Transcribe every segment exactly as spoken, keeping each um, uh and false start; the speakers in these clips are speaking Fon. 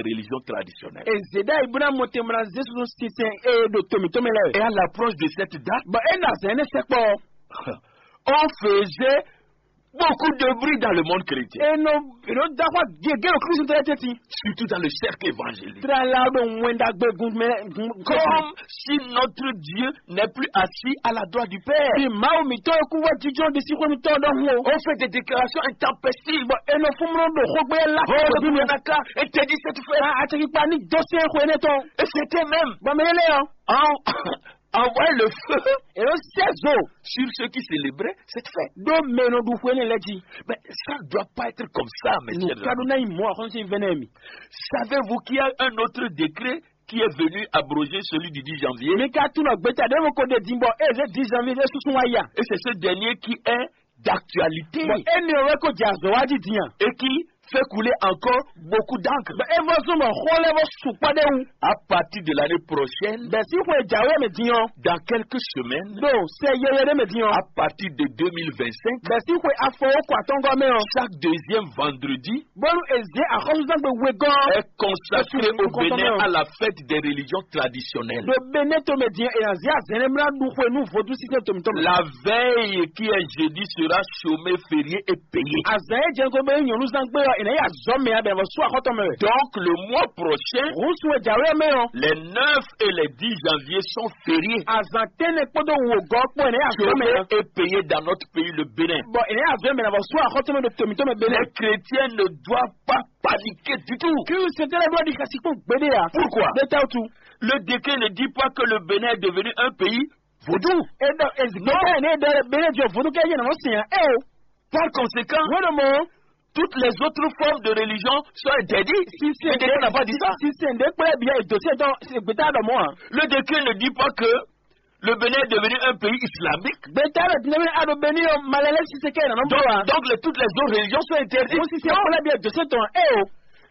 religions traditionnelles. Ezéda ibuna motembra Jésus sinsɛn e ɖo tomi tɔmɛ lɛ. Et à l'approche de cette date, bon, e na zɛn ne sɛkpɔ. On faisait beaucoup de bruit dans le monde chrétien. Eno eno dafa gege o Kristu tɛ teti. Surtout dans le cercle évangélique. Tra la do mwenda gbe gun mɛ gun. Comme si notre Dieu n'est plus assis à la droite du Père. Bi mawu mi tɔ eku wa jijɔ di si xwe mi tɔ dɔ hu. On fait des déclarations intempestives. Bon, eno fumro do xogbe la. Oh, le gouvernement interdit cette fête. A a tɛ ki pa ni dɔ se xwe ne tɔn. Et c'était même. Bon, mais il est là. En, envoyer le feu. Et le seize jours. Sur ceux qui célébraient cette fête. Do meno du xwe ne lɛ ji. Mais ça ne doit pas être comme ça, mes chers amis. Kaduna yi mo a xɔnsi vɛnɛ mi. Savez-vous qu'il y a un autre décret qui est venu abroger celui du dix janvier? Mi ka tún nɔ gbeta ɖe mo ko de din bɔ e ze dix janvier e susu wa ya. Et c'est ce dernier qui est d'actualité. Bon, e ne wɛ ko dza zɔ wa di din a. Et qui fait couler encore beaucoup d'encre. Bon, e vɔ zun bɔ xɔ lɛ bɔ sukpɔ de wu. À partir de l'année prochaine, bɛ si xwe jawe mɛ din ɔ. Dans quelques semaines, do sɛ yɛyɛ de mɛ din ɔ. À partir de deux mille vingt-cinq, bɛ si xwe afɔ wo kɔ atɔngɔ mɛ ɔ. Chaque deuxième vendredi, bolu eze axɔsuzangbe wegɔ. Est consacré au Bénin à la fête des religions traditionnelles. Do bene to mɛ din e na zi azɛnɛ mla du xwe nu vodu sisɛ tomi tɔmɛ. La veille qui est jeudi sera chômé, férié et payé. Azan e jɛ ko be nyɔnu zan gbe ɔ, ina ya zɔ mɛ abɛ vɔ su axɔtɔ mɛ. Donc le mois prochain, Rusu e jawe mɛ ɔ. Les neuf et les dix janvier sont fériés. Azan tɛnɛ kpodo wo gɔ kpɔ ina ya zɔ mɛ. Chômé et payé dans notre pays, le Bénin. Bon, ina ya zɔ mɛ na vɔ su axɔtɔ mɛ do tomi tɔmɛ bene. Les chrétiens ne doivent pas paniquer du tout. Kristu tɛ lɛ do di kasi kpɔn gbede ya. Pourquoi? De ta tu. Le décret ne dit pas que le Bénin est devenu un pays vaudou. E dɔ ezigbo ne dɔ bene jɔ vodu kɛ yɛ nɔ sinya e o. Par conséquent, wɛrɛ mɔ. Toutes les autres formes de religion sont interdites. Sisɛ de n'a pas dit ça. Sisɛ de kple bia edo se dɔ gbeta dɔ mɔ a. Le décret ne dit pas que le Bénin est devenu un pays islamique. Gbeta dɔ dinɛ mi ado beni yɔ malɛlɛ sisɛ kɛ nana Donc, mɔ a. Donc les, toutes les autres religions sont interdites. Mo sisɛ kple bia edo se tɔn e o.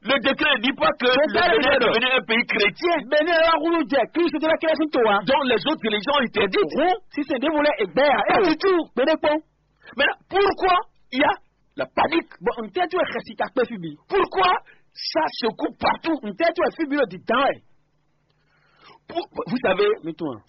Le décret ne dit pas que le Bénin est devenu un pays chrétien. Beni yɔ wulu jɛ Kristu de la création to wa. Donc les autres religions sont interdites. Sisɛ de wulɛ egbɛ ya e o. Pas du tout. Gbede kpɔn. Maintenant, pourquoi il y a la panique? Bon, n tɛ tu e xɛsi ta kpe fi bi. Pourquoi ça secoue partout? N tɛ tu e fi bi lo di dan wɛ. Pour- vous savez, mi tun a.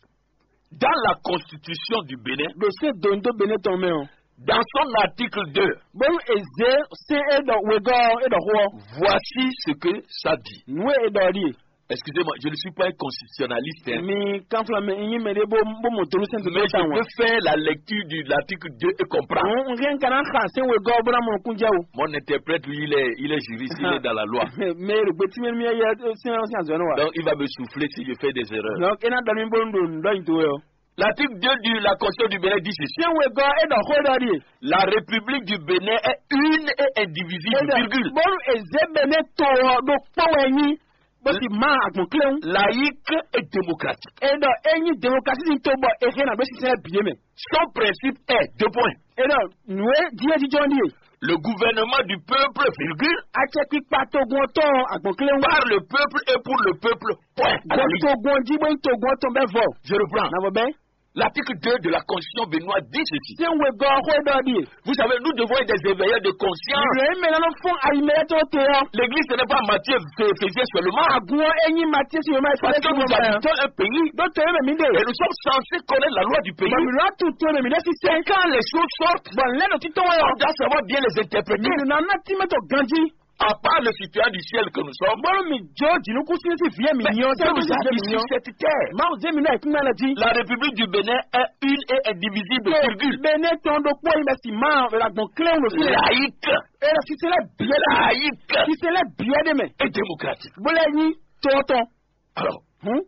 Dans la constitution du Bénin, Do se do n do bene tɔn mɛ o. Dans son article deux, Bolu eze se e dɔ wegɔ e dɔ xo. Voici ce que ça dit. Nu e dɔ di. Excusez-moi, je ne suis pas un constitutionnaliste, hein. Mi kanfla mɛ nyi mɛ de bo bo mo tolu sɛn to Mais je ta wa. Peux faire la lecture de l'article deux et comprendre. N n kana xa se wegɔ bo na mo kun jɛ o. Mon interprète, lui, il est, il est juriste, il est dans la loi. Mais le petit mi mi ya se se azɔn wa. Donc, il va me souffler si je fais des erreurs. Donc, ina dɔ mi bo n do n dɔ yin to yo. L'article deux de la Constitution du Bénin dit ceci. Se wegɔ e dɔ xo dɔ di. La République du Bénin est une et indivisible, virgule. Bolu eze bene to do kpɔ wɛ nyi. Bó ti má àgbọ̀n kílẹ̀ ń. Laïque et démocratique. E dɔ e nyi démocratie ni to bɔ e hɛn na bɛ sisɛ biye mɛ. Son principe est, deux points. E dɔ nue die jijɔ ni. Le gouvernement du peuple, virgule. Acɛ kpikpa togun ɔtɔ àgbọ̀n kílẹ̀ ń. Par le peuple et pour le peuple, point. À la ligne. Togun ɔjí bó togun ɔtɔ bɛ vɔ. Je reprends. Na vɔ bɛ. L'article deux de la Constitution béninoise dit ceci. Ṣé ń wé gọ́ xó dɔ di? Vous savez, nous devons être des éveilleurs de conscience. Ìròyìn mìíràn ló fún ayimẹ́lẹ́ tó tẹ ọ́. L'église, ce n'est pas Matthieu, Éphésiens seulement. Àgùn ẹ̀yìn Matthieu sì yóò máa ṣe. Parce que nous habitons un pays. Dókítà yóò mẹ̀mí dè. Et nous sommes censés connaître la loi du pays. Bọ̀mí lọ́tún tó mẹ̀mí lọ́sí sẹ́. Quand les choses sortent, bọ̀ lẹ́nu títọ́ wọn. On doit savoir bien les interpréter. Mìíràn náà tí mẹ́tò ganjí. À part le citoyen du ciel que nous sommes, bolo mi jo jinu kusi si vie mi nyo se mi vie mi nyo. Sur cette terre. Ma o je mi na ikun na di. La République du Bénin est une et indivisible, virgule. Bene ton do po mi si ma la gbɔn kle wo si. Laïque. E la si se la bien. Laïque. Si se la bien de me. Et démocratique. Bolo ni to ton. Alors, hmm?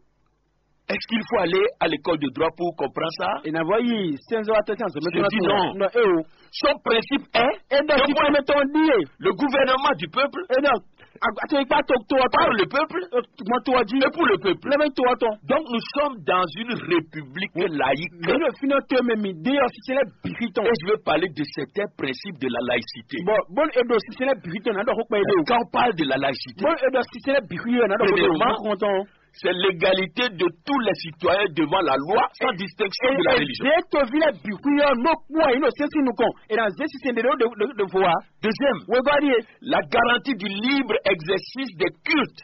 Est-ce qu'il faut aller à l'école de droit pour comprendre ça? E na vɔ yi senzo attention se. Je dis non. Non, e o. Son principe est, e dɔ ti tɔmɛ tɔn di ye. Le gouvernement du peuple. E dɔ ato ipa to to par le peuple. Mo to di. Et pour le peuple. Le to to. Donc nous sommes dans une république laïque. Mi no fino to me mi de officiel bihiton. Et je vais parler de certains principes de la laïcité. Bon, bon, e do officiel bihiton na do ko pe de. Quand on parle de la laïcité, bon, e do officiel bihiton na do ko pe. Premièrement, c'est l'égalité de tous les citoyens devant la loi, sans distinction de la religion. E to vile bihiton no po ino sensi nu kon. E na zesi sende de de de voa. Deuxième, we godi. La garantie du libre exercice des cultes.